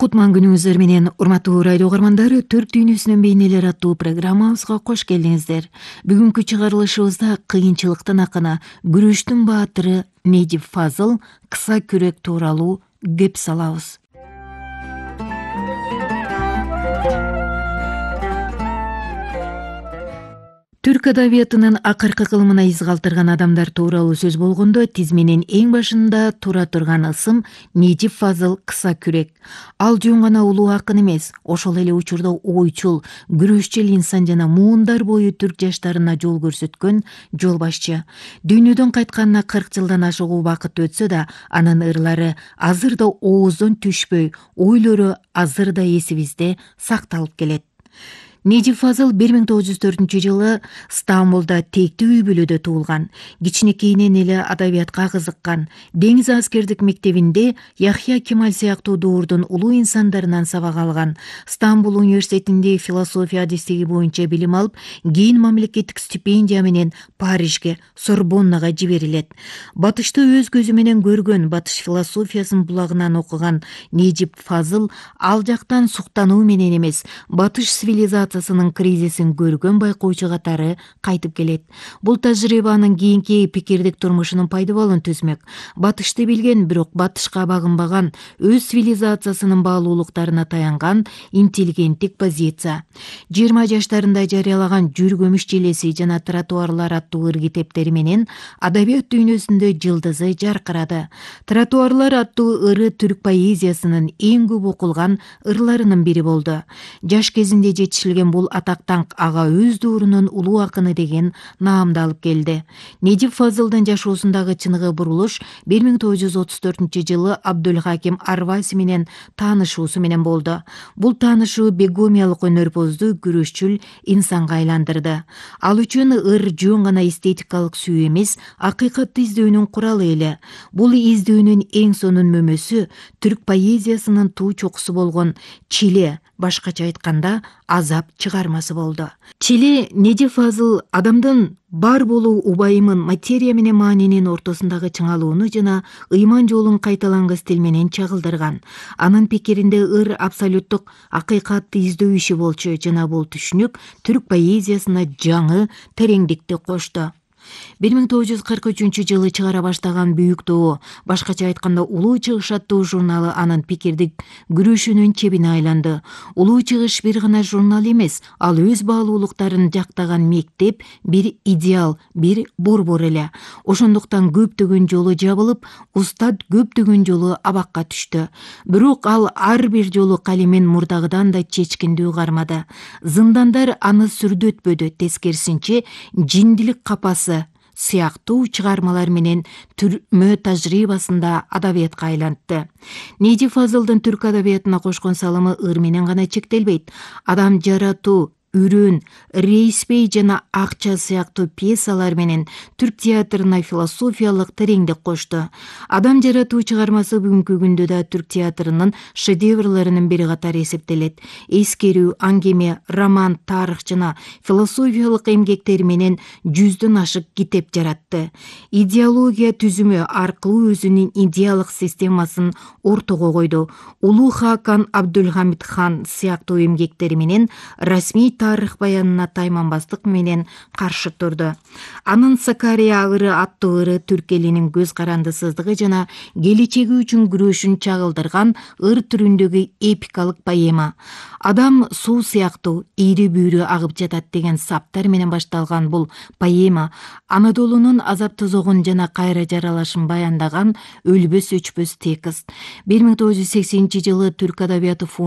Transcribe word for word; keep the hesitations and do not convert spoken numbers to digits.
Кутман күнүңүздөр менен, урматтуу радио угармандары, Түрк дүйнөсүнүн бейнелери аттуу программабызга кош келиңиздер. Бүгүнкү чыгарылышыбызда кыйынчылыктын акыны, күрөштүн баатыры Недип Фазыл кыса күрөк тууралуу кеп салабыз. Түрк адабиятынын акыркы кылымына из калтырган адамдар тууралуу сөз болгондо, тизменин эң башында тура турган ысым Недип Фазыл кыса күрөк. Ал жөн гана улуу акын эмес, ошол эле учурда ойчул, күрөшчүл инсан жана муундар бою түрк жаштарына жол көрсөткөн жол башчы. Дүйнөдөн кайтканына кырк жылдан ашык убакыт өтсө да, анын ырлары азыр да ооздон түшпөй, ойлору азыр да эсибизде сакталып келет. Недип Фазыл бир миң тогуз жүз төртүнчү жылы Стамбулда тектүү үй бүлөдө туулган. Кичинекейинен эле адабиятка кызыккан. Деңиз аскердик мектебинде Яхья Кемаль сыяктуу дуурдун улуу инсандарынан сабак алган. Стамбул университетинде философия адистиги боюнча билим алып, кийин мамлекеттик стипендия менен Парижге, Сорбоннага жиберилет. Батышты өз көзү менен көргөн, батыш философиясын булагынан окуган Недип Фазыл ал жактан суктануу менен эмес, батыш цивилизациясынын кризисин көргөн байкоочу катары кайтып келет. Бул тажрыйба анын кийинки пикирдик турмушунун пайдабалын түзмөк. Батышты билген, бирок батышка багынбаган, өз цивилизациясынын баалуулуктарына таянган интеллигенттик позиция. жыйырма жаштарында жарыялаган Жүргөмүш желеси жана Тротуарлар аттуу ыр китептери менен адабият дүйнөсүндө жылдызы жаркырады. Тротуарлар аттуу ыры түрк поэзиясынын эң көп окулган ырларынын бири болду. Жаш кезинде жетишилген бул атактан ага өз дуурунун улуу акыны деген наамды алып келди. Недип Фазылдын жашоосундагы чыныгы бурулуш бир миң тогуз жүз отуз төртүнчү жылы Абдулхаким Арваси менен таанышуусу менен болду. Бул таанышуу бегомиялык өнөрпоздуу, күрөшчүл инсанга айландырды. Ал үчүн ыр жөн гана эстетикалык сүйүү эмес, акыйкатты издөөнүн куралы эле. Бул издөөнүн эң сонун мөмөсү түрк поэзиясынын туу чокусу болгон Чиле, башкача айтканда азап чыгармасы болду. Чиле Недип Фазыл адамдын бар болуу убайымын, материя менен маанинин ортосундагы чыңалууну жана ыйман жолун кайталангыс тил менен чагылдырган. Анын пикиринде ыр абсолюттук акыйкатты издөө иши болчу жана бул түшүнүк түрк поэзиясына жаңы тереңдикти кошту. бир миң тогуз жүз кырк үчүнчү жылы чыгара баштаган Büyük Doğu, башкача айтканда Улуу чыгыш аттуу журналы анын пикирдик күрөшүнүн чебине айланды. Улуу чыгыш бир гана журнал эмес, ал өз баалуулуктарын жактаган мектеп, бир идеал, бир борбор эле. Ошондуктан көптөгөн жолу жабылып, устат көптөгөн жолу абакка түштү. Бирок ал ар бир жолу калемен мурдагыдан да чечкиндүү кармады. Зындандар аны сүрдөтпөдү, тескерисинче жиндилик капасы сыяктуу чыгармалар менен түрмө тажрыйбасында адабиятка айлантты. Недип Фазылдын түрк адабиятына кошкон салымы ыр менен гана чектелбейт. Адам жаратуу, Үрөн, Рейспей жана Акча сыяктуу пьесалар менен түрк театрына философиялык тереңдик кошту. Адам жаратуу чыгармасы бүгүнкү күндө да түрк театрынын шедеврларынын бири катары эсептелет. Эскерүү, аңгеме, роман, тарых жана философиялык эмгектери менен жүздөн ашык китеп жаратты. Идеология түзүмү аркылуу өзүнүн идеалык системасын ортого койду. Улуу Хакан Абдулхамид хан сыяктуу эмгектери менен расмий тарых баянына тайманбастык менен каршы турду. Анын Сакария ыры аттуу ыры түрк элинин көз карандысыздыгы жана келечеги үчүн күрөшүн чагылдырган ыр түрүндөгү эпикалык поэма. Адам суу сыяктуу ири бүйрү агып жатат деген саптар менен башталган бул поэма Анадолунун азап тозогун жана кайра жаралышын баяндаган өлбөс өчпөс текст. бир миң тогуз жүз сексенинчи жылы Түрк адабияты